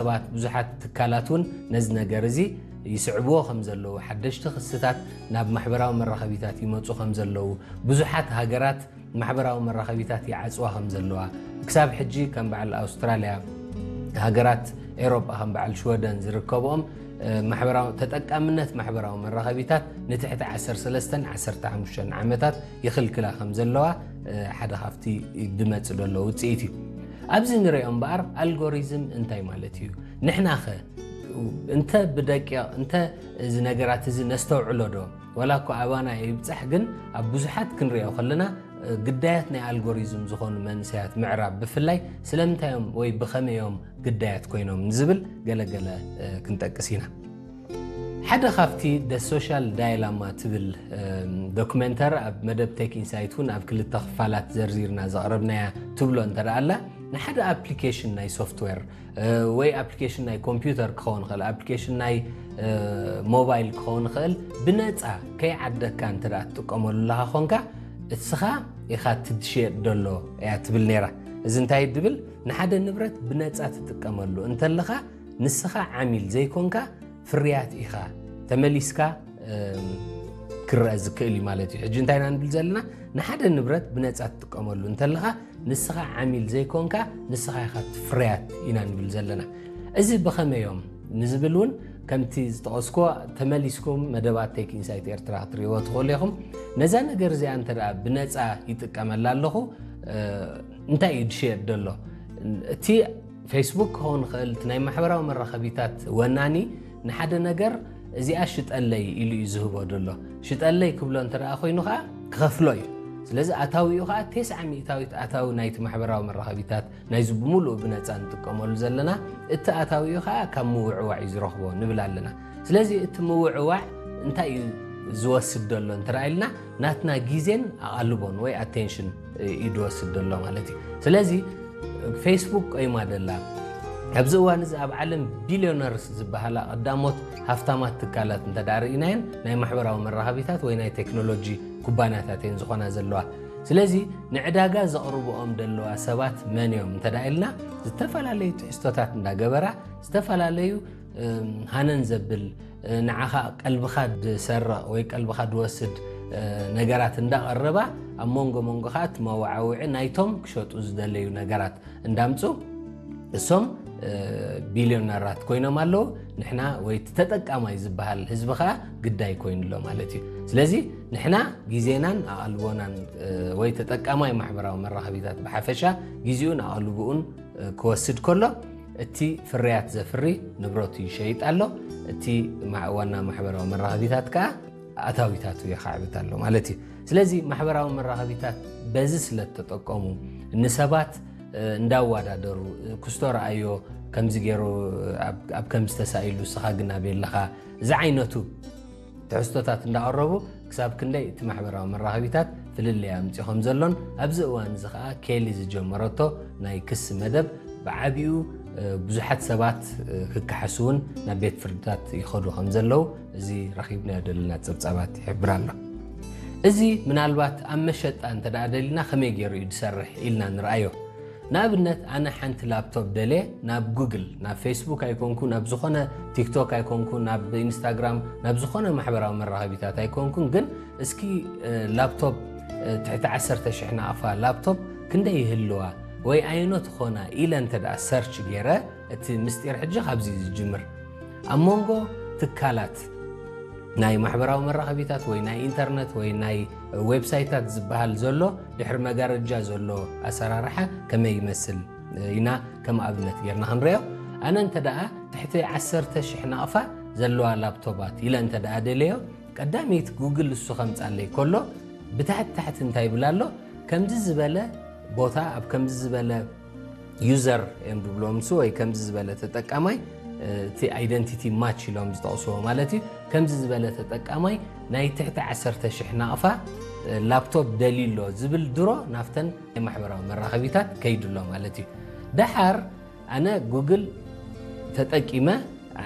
ሰባት፣ ብዙሓት ትካላት እውን ነዚ ነገር እዚ ይስዕብዎ ከም ዘለዉ፣ ሓደሽቲ ክስታት ናብ ማሕበራዊ መራኸቢታት ይመጹ ከም ዘለዉ፣ ብዙሓት ሃገራት ማሕበራዊ መራኸቢታት ይዓጽዋ ከም ዘለዋ፣ ክሳብ ሕጂ ከም በዓል ኣውስትራልያ፣ ሃገራት ኤውሮጳ ከም በዓል ሽወደን ዝርከብኦም፣ እ፣ ማሕበራዊ፣ ተጠቃምነት ማሕበራዊ መራኸቢታት ንትሕቲ ዓሰርተ ሰለስተን ዓሰርተ ሓሙሽተን ዓመታት ይኽልክላ ከም ዘለዋ፣ እ፣ ሓደ ካብቲ ድመጽ ዘሎ ውጽኢት እዩ። ኣብዚ ንሪኦ እምበኣር ኣልጎሪዝም እንታይ ማለት እዩ? ንሕናኸ እንተ ብደቂቕ፣ እንተ እዚ ነገራት እዚ ነስተውዕሎ ዶ? ዋላ እኮ ኣባና ይብጻሕ፣ ግን ኣብ ብዙሓት ክንሪኦ ከለና፣ እ፣ ግዳያት ናይ ኣልጎሪዝም ዝኾኑ መንእሰያት ምዕራብ ብፍላይ ስለምንታይ እዮም ወይ ብኸመይ እዮም ግዳያት ኮይኖም ንዝብል ገለገለ፣ እ፣ ክንጠቅስ ኢና። ሓደ ካብቲ The Social Dilemma ትብል፣ እ፣ ዶክመንተር ኣብ መደብ ቴክ ኢንሳይት እውን ኣብ ክልተ ክፋላት ዘርዚርና ዘቕረብናያ ትብሎ እንተ ደኣ ኣላ፣ ንሓደ ኣፕሊኬሽን ናይ ሶፍትዌር፣ እ፣ ወይ ኣፕሊኬሽን ናይ ኮምፒውተር ክኸውን ይኽእል፣ ኣፕሊኬሽን ናይ፣ እ፣ ሞባይል ክኸውን ይኽእል፣ ብነጻ ከይዓደግካ እንተ ደኣ ትጥቀመሉ ኣለኻ ኾንካ፣ እስኻ ኢኻ ትድሽየጥ ደሎ እያ ትብል ነይራ። እዚ እንታይ ድብል? ንሓደ ንብረት ብነጻ ትጥቀመሉ እንተለኻ፣ ንስኻ ዓሚል ዘይኮንካ፣ ፍርያት ኢኻ፣ ተመሊስካ፣ እም፣ ክረአ ዝክእል እዩ ማለት እዩ። ሕጂ እንታይ ኢና ንብል ዘለና? ንሓደ ንብረት ብነጻ ትጥቀመሉ እንተለኻ፣ ንስኻ ዓሚል ዘይኮንካ፣ ንስኻ ኢኻ እቲ ፍርያት ኢና ንብል ዘለና። እዚ ብኸመይ እዮም ንዝብል እውን ከምቲ ዝጠቐስኩዎ ተመሊስኩም መደባት ቴክ ኢንሳይት ኤርትራ ክትርእይዎ ትኽእሉ ኢኹም። ነዛ ነገር እዚኣ እንተ ደኣ ብነጻ ይጥቀመላ ኣለኹ፣ እ፣ እንታይ እዩ ዝሸየጥ ዘሎ? እቲ ፌስቡክ ክኸውን ይኽእል፣ እቲ ናይ ማሕበራዊ መራኸቢታት ወናኒ ንሓደ ነገር እዚኣ ሽጠለይ ኢሉ እዩ ዝህቦ ዘሎ። ሽጠለይ ክብሎ እንተ ደኣ ኮይኑ ኸዓ ክኸፍሎ እዩ። ስለዚ ኣታዊኡ ኸዓ ተስዓ ሚእታዊት ኣታዊ ናይቲ ማሕበራዊ መራኸቢታት ናይዚ ብምሉኡ ብነጻ ንጥቀመሉ ዘለና እቲ ኣታዊኡ ኸዓ ካብ ምውዕዋዕ እዩ ዝረኽቦ ንብል ኣለና። ስለዚ እቲ ምውዕዋዕ እንታይ እዩ ዝወስድ ዘሎ እንተ ኢልና ናትና ግዜን ኣቓልቦን ወይ ኣቴንሽን እዩ ዝወስድ ዘሎ ማለት እዩ። ስለዚ ፌስቡክ ቆይማ ደላ። ኣብዚ እዋን እዚ ኣብ ዓለም ቢልዮነርስ ዝበሃላ ቀዳሞት ሃፍታማት ትካላት እንተ ደኣ ርኢናየን ናይ ማሕበራዊ መራኸቢታት ወይ ናይ ቴክኖሎጂ ኩባንያታት እየን ዝኾና ዘለዋ። ስለዚ ንዕዳጋ ዘቕርብኦም ዘለዋ ሰባት መን እዮም እንተ ደኣ ኢልና ዝተፈላለዩ ትሕዝቶታት እንዳገበራ ዝተፈላለዩ፣ እም፣ ሃነን ዘብል፣ እ፣ ንዓኻ ቀልብኻ ዝሰርቕ ወይ ቀልብኻ ዝወስድ፣ እ፣ ነገራት እንዳቐረባ ኣብ መንጎ መንጎ ኸዓ እቲ መዋዓውዒ ናይቶም ክሸጡ ዝደለዩ ነገራት እንዳምጹ እሶም፣ እ፣ ቢልዮነራት ኮይኖም ኣለዉ። ንሕና ወይ እቲ ተጠቃማይ ዝበሃል ህዝቢ ኸዓ ግዳይ ኮይኑ ኣሎ ማለት እዩ። ስለዚ ንሕና ግዜናን ኣቓልቦናን፣ እ፣ ወይ ተጠቃማይ ማሕበራዊ መራኸቢታት ብሓፈሻ ግዜኡን ኣቓልቦኡን፣ እ፣ ክወስድ ከሎ እቲ ፍርያት ዘፍሪ ንብረቱ ይሸይጥ ኣሎ፣ እቲ ማ-፣ ዋና ማሕበራዊ መራኸቢታት ከኣ ኣታዊታቱ የኻዕብት ኣሎ ማለት እዩ። ስለዚ ማሕበራዊ መራኸቢታት በዚ ስለ እተጠቀሙ ንሰባት፣ እ፣ እንዳወዳደሩ፣ እ፣ ክስቶ ረኣዮ ከምዚ ገይሩ፣ እ፣ ኣብ፣ ኣብ ከምዚ ተሳኢሉ፣ ንስኻ ግን ኣበይ ኣለኻ ዝዓይነቱ ትሕዝቶታት እንዳቐረቡ ክሳብ ክንደይ እቲ ማሕበራዊ መራኸቢታት ፍልልይ ኣምፅኡ ከም ዘሎን ኣብዚ እዋን እዚ ኸዓ ኬሊ ዝጀመረቶ ናይ ክሲ መደብ ብዓቢኡ፣ እ፣ ብዙሓት ሰባት፣ እ፣ ክከሓሱ እውን ናብ ቤት ፍርድታት ይኸዱ ከም ዘለዉ እዚ ረኺብናዮ ዘለና ጸብጻባት ይሕብር ኣሎ። እዚ ምናልባት ኣብ መሸጣ እንተ ደኣ ደሊና ከመይ ገይሩ እዩ ዝሰርሕ ኢልና ንርኣዮ። ንኣብነት ኣነ ሓንቲ ላፕቶፕ ደልየ ናብ ጉግል፣ ናብ ፌስቡክ ኣይኮንኩ፣ ናብ ዝኾነ ቲክቶክ ኣይኮንኩ፣ ናብ ኢንስታግራም፣ ናብ ዝኾነ ማሕበራዊ መራኸቢታት ኣይኮንኩን፣ ግን እስኪ፣ እ፣ ላፕቶፕ፣ እ፣ ትሕቲ ዓሰርተ ሽሕ ናቕፋ ላፕቶፕ ክንደይ ይህልዋ ወይ ኣየኖት ኾና ኢለ እንተ ደኣ ሰርች ገይረ፣ እቲ ምስጢር ሕጂ ካብዚ እዩ ዝጅምር። ኣብ መንጎ ትካላት ናይ ማሕበራዊ መራኸቢታት ወይ ናይ ኢንተርነት ወይ ናይ ዌብሳይታት ዝበሃል ዘሎ ድሕሪ መጋረጃ ዘሎ ኣሰራርሓ ከመይ ይመስል ኢና ከም ኣብነት ጌርና ክንሪኦ። ኣነ እንተ ደኣ ትሕቲ ዓሰርተ ሽሕ ናቕፋ ዘለዋ ላፕቶባት ኢለ እንተ ደኣ ደለዮ፣ ቀዳመይቲ ጉግል እሱ ከምጻለይ ከሎ ብታሕቲ ታሕቲ እንታይ ይብል ኣሎ? ከምዚ ዝበለ ቦታ ኣብ ከምዚ ዝበለ ዩዘር እዮም ዝብሎም ንሱ ወይ ከምዚ ዝበለ ተጠቃማይ፣ እ፣ እቲ ኣይደንቲቲ ማች ኢሎም ዝጠቕስዎ ማለት እዩ። ከምዚ ዝበለ ተጠቃማይ ናይ ትሕቲ ዓሰርተ ሽሕ ናቕፋ፣ እ፣ ላፕቶፕ ደልዩ ኣሎ ዝብል ድሮ ናብተን ናይ ማሕበራዊ መራኸቢታት ከይዱ ኣሎ ማለት እዩ። ደሓር ኣነ ጉግል ተጠቂመ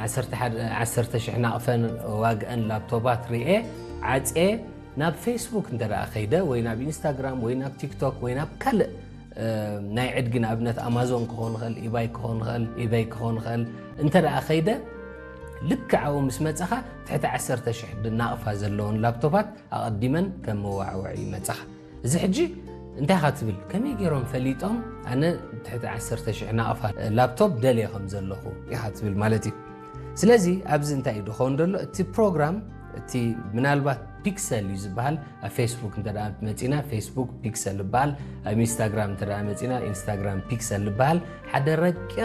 ዓሰርተ ሓደ፣ ዓሰርተ ሽሕ ናቕፈን ዋግአን ላፕቶባት ርኤ ዓጽየ ናብ ፌስቡክ እንተ ደኣ ከይደ ወይ ናብ ኢንስታግራም ወይ ናብ ቲክቶክ ወይ ናብ ካልእ ናይ ዕድጊ ንኣብነት ኣማዞን ክኾን ኽእል ኢባይ ክኾን ኽእል ኢበይ ክኾን ኽእል እንተ ደኣ ኸይደ ልክዓኡ ምስ መጸኻ ትሕቲ ዓሰርተ ሽሕ ናቕፋ ዘለውን ላፕቶፓት ኣቐዲመን ከም መዋዕውዒ ይመጸኻ። እዚ ሕጂ እንታይ ኢኻ ትብል ከመይ ገይሮም ፈሊጦም ኣነ ትሕቲ ዓሰርተ ሽሕ ናቕፋ ላፕቶፕ ደልየ ከም ዘለኹ ኢኻ ትብል ማለት እዩ። ስለዚ ኣብዚ እንታይ እዩ ድኸውን ዘሎ እቲ ፕሮግራም እቲ ምናልባት ፒክሰል እዩ ዝበሃል ኣብ ፌስቡክ እንተ መፂና ፌስቡክ ፒክሰል ይበሃል ኣብ ኢንስታግራም እንተ መፂና ኢንስታግራም ፒክሰል ይበሃል ሓደ ረቂቕ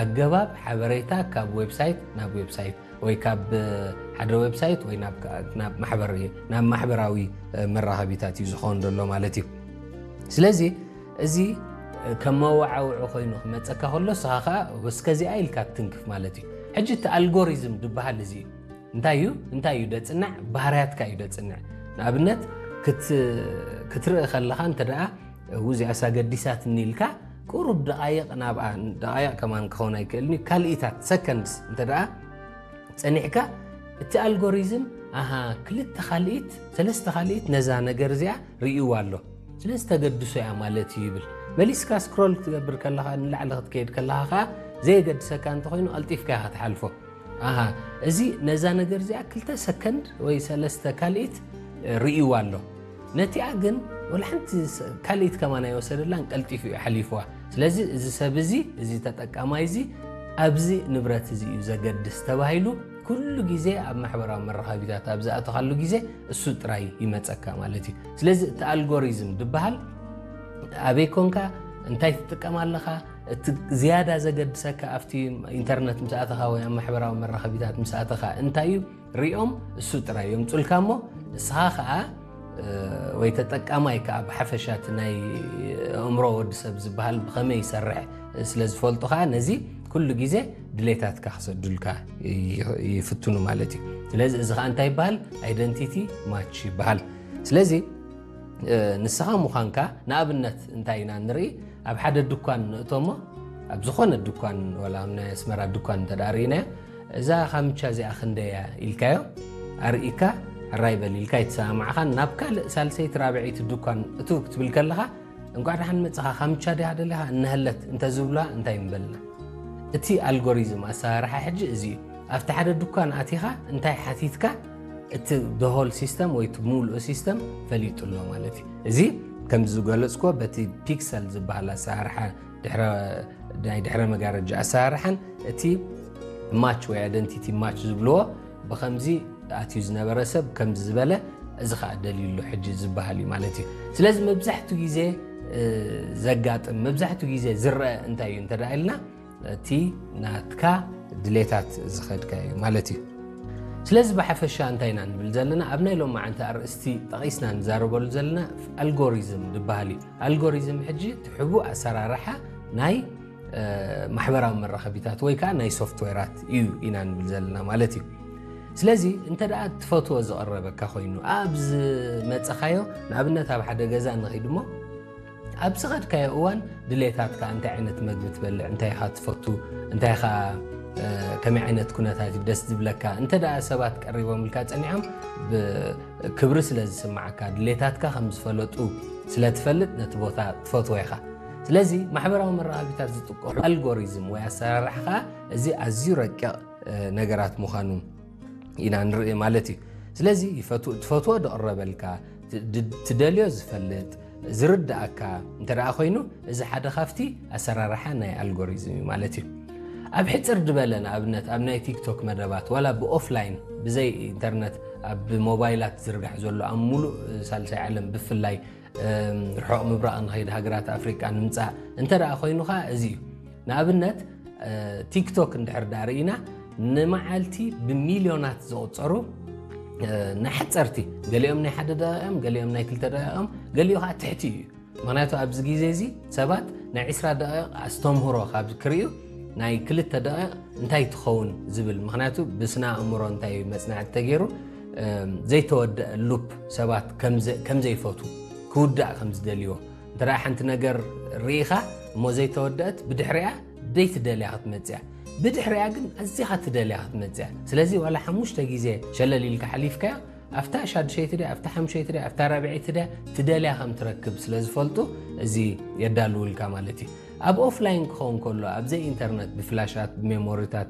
ኣገባብ ሓበሬታ ካብ ዌብሳይት ናብ ዌብሳይት ወይ ካብ ሓደ ዌብሳይት ወይ ናብ ማሕበራዊ መራኸቢታት እዩ ዝኸውን ዘሎ ማለት እዩ። ስለዚ እዚ ከም መዋዓውዒ ኮይኑ ክመፀካ ከሎ ስኻ ከዓ እስከዚኣ ኢልካ ትትንክፍ ማለት እዩ። ሕጂ እቲ ኣልጎሪዝም ዝበሃል እዚ እዩ። እንታይ እዩ እንታይ እዩ ደፅንዕ ባህርያትካ እዩ ደፅንዕ። ንኣብነት ክትርኢ ከለኻ እንተ ደኣ ውዚኣሳ ገዲሳትኒ ኢልካ ቁሩብ ደቃይቕ ናብኣ ደቃይቕ ከማን ክኸውን ኣይክእልን እዩ ካልኢታት ሰከንድስ እንተ ደኣ ፀኒሕካ እቲ ኣልጎሪዝም ኣሃ ክልተ ካልኢት ሰለስተ ካልኢት ነዛ ነገር እዚኣ ርእይዋ ኣሎ ስለዚ ተገድሶ እያ ማለት እዩ ይብል። መሊስካ ስክሮል ክትገብር ከለኻ ንላዕሊ ክትከይድ ከለኻ ከዓ ዘየገድሰካ እንተኮይኑ ቀልጢፍካ ኢኻ ትሓልፎ። ኣሃ እዚ ነዛ ነገር እዚኣ ክልተ ሰከንድ ወይ ሰለስተ ካልኢት ርእይዋ ኣሎ ነቲኣ ግን ወላ ሓንቲ ካልኢት ከማን ኣይወሰደላን ቀልጢፉ እዩ ሓሊፍዋ። ስለዚ እዚ ሰብ እዚ እዚ ተጠቃማይ እዚ ኣብዚ ንብረት እዚ እዩ ዘገድስ ተባሂሉ ኩሉ ግዜ ኣብ ማሕበራዊ መራኸቢታት ኣብ ዝኣተኻሉ ግዜ እሱ ጥራይ ይመፀካ ማለት እዩ። ስለዚ እቲ ኣልጎሪዝም ዝበሃል ኣበይ ኮንካ እንታይ ትጥቀም ኣለኻ እቲ ዝያዳ ዘገድሰካ ኣብቲ ኢንተርነት ምስ ኣተኻ ወይ ኣብ ማሕበራዊ መራኸቢታት ምስ ኣተኻ እንታይ እዩ ሪኦም እሱ ጥራይ የምፁልካ እሞ ንስኻ ከዓ ወይ ተጠቃማይ ከዓ ብሓፈሻ እቲ ናይ ኣእምሮ ወዲ ሰብ ዝበሃል ብኸመይ ይሰርሕ ስለ ዝፈልጡ ከዓ ነዚ ኩሉ ግዜ ድሌታትካ ክሰዱልካ ይፍትኑ ማለት እዩ። ስለዚ እዚ ከዓ እንታይ ይበሃል? ኣይደንቲቲ ማች ይበሃል። ስለዚ ንስኻ ምዃንካ ንኣብነት እንታይ ኢና ንርኢ ኣብ ሓደ ድኳን ንእቶሞ ኣብ ዝኾነ ድኳን ወላ ናይ ኣስመራ ድኳን እንተ ርእናዮ እዛ ካምቻ እዚኣ ክንደያ ኢልካዮ ኣርኢካ ሕራይ በል ኢልካ ይተሰማማዕኻን ናብ ካልእ ሳልሰይቲ ራብዐይቲ ድኳን እቱ ክትብል ከለኻ እንቋዕ ደሓን መጽኻ ካምቻ ድያ ደሊኻ እነሀለት እንተ ዝብሉዋ እንታይ ምበልና። እቲ ኣልጎሪዝም ኣሰራርሓ ሕጂ እዚ እዩ። ኣብቲ ሓደ ድኳን ኣቲኻ እንታይ ሓቲትካ እቲ the whole system ወይ እቲ ሙሉእ ሲስተም ፈሊጡ ኣሎ ማለት እዩ። እዚ ከምዚ ዝገለጽኩዎ በቲ ፒክሰል ዝበሃል ኣሰራርሓ ናይ ድሕረ መጋረጃ ኣሰራርሓን እቲ ማች ወይ ኣይደንቲቲ ማች ዝብልዎ ብከምዚ ኣትዩ ዝነበረ ሰብ ከምዚ ዝበለ እዚ ከዓ ደልዩ ኣሎ ሕጂ ዝበሃል እዩ ማለት እዩ። ስለዚ መብዛሕትኡ ግዜ ዘጋጥም መብዛሕትኡ ግዜ ዝረአ እንታይ እዩ እንተ ኢልና እቲ ናትካ ድሌታት ዝኸድካ እዩ ማለት እዩ። ስለዚ ብሓፈሻ እንታይ ኢና ንብል ዘለና ኣብ ናይ ሎማዓንቲ ኣርእስቲ ጠቒስና ንዛረበሉ ዘለና ኣልጎሪዝም ዝበሃል እዩ። ኣልጎሪዝም ሕጂ እቲ ሕቡእ ኣሰራርሓ ናይ ማሕበራዊ መራኸቢታት ወይ ከዓ ናይ ሶፍትዌራት እዩ ኢና ንብል ዘለና ማለት እዩ። ስለዚ እንተ ደኣ ትፈትዎ ዝቐረበካ ኮይኑ ኣብ ዝመፀኻዮ ንኣብነት ኣብ ሓደ ገዛ ንኺድ እሞ ኣብ ዝኸድካዮ እዋን ድሌታትካ እንታይ ዓይነት መግቢ ትበልዕ እንታይ ኢኻ ትፈቱ እንታይ ኢኻ ከመይ ዓይነት ኩነታት እዩ ደስ ዝብለካ እንተ ደኣ ሰባት ቀሪቦምልካ ፀኒዖም ክብሪ ስለ ዝስማዓካ ድሌታትካ ከም ዝፈለጡ ስለ ትፈልጥ ነቲ ቦታ ትፈትዎ ኢኻ። ስለዚ ማሕበራዊ መራኸቢታት ዝጥቀሙ ኣልጎሪዝም ወይ ኣሰራርሓ ከዓ እዚ ኣዝዩ ረቂቕ ነገራት ምዃኑ ኢና ንርኢ ማለት እዩ። ስለዚ ትፈትዎ ዝቕረበልካ ትደልዮ ዝፈልጥ ዝርዳእካ እንተ ደኣ ኮይኑ እዚ ሓደ ካብቲ ኣሰራርሓ ናይ ኣልጎሪዝም እዩ ማለት እዩ። ኣብ ሕፅር ዝበለ ንኣብነት ኣብ ናይ ቲክቶክ መደባት ዋላ ብኦፍላይን ብዘይ ኢንተርነት ኣብ ሞባይላት ዝርጋሕ ዘሎ ኣብ ሙሉእ ሳልሳይ ዓለም ብፍላይ ርሑቕ ምብራቕ ንኸይድ ሃገራት ኣፍሪቃ ንምፃእ እንተ ደኣ ኮይኑ ከዓ እዚ እዩ። ንኣብነት ቲክቶክ እንድሕር ደኣ ርኢና ንመዓልቲ ብሚልዮናት ዝቑፀሩ ናይ ሓፀርቲ ገሊኦም ናይ ሓደ ደቂቕ እዮም ገሊኦም ናይ ክልተ ደቂቕ እዮም ገሊኡ ከዓ ትሕቲ እዩ። ምክንያቱ ኣብዚ ግዜ እዚ ሰባት ናይ ዕስራ ደቂቕ ኣስተምህሮ ካብ ክርእዩ ናይ ክልተ ደቂቕ እንታይ ትኸውን ዝብል ምክንያቱ ብስነ ኣእምሮ እንታይ መፅናዕቲ ተገይሩ ዘይተወደአ ሉፕ ሰባት ከም ዘይፈቱ ክውዳእ ከም ዝደልይዎ እንተ ሓንቲ ነገር ርኢኻ እሞ ዘይተወደአት ብድሕሪኣ ደይትደልያ ክትመፅያ ብድሕሪኣ ግን ኣዚኻ ትደልያ ክትመፅያ ስለዚ ዋላ ሓሙሽተ ግዜ ሸለል ኢልካ ሓሊፍካዮ ኣብታ ሻድሸይቲ ድያ፣ ኣብታ ሓምሸይቲ ድያ፣ ኣብታ ራብዐይቲ ድያ ትደልያ ከም ትረክብ ስለ ዝፈልጡ፣ እዚ የዳልውልካ ማለት እዩ። ኣብ ኦፍላይን ክኸውን ከሎ፣ ኣብ ዘይ ኢንተርነት፣ ብፍላሻት፣ ብሜሞሪታት፣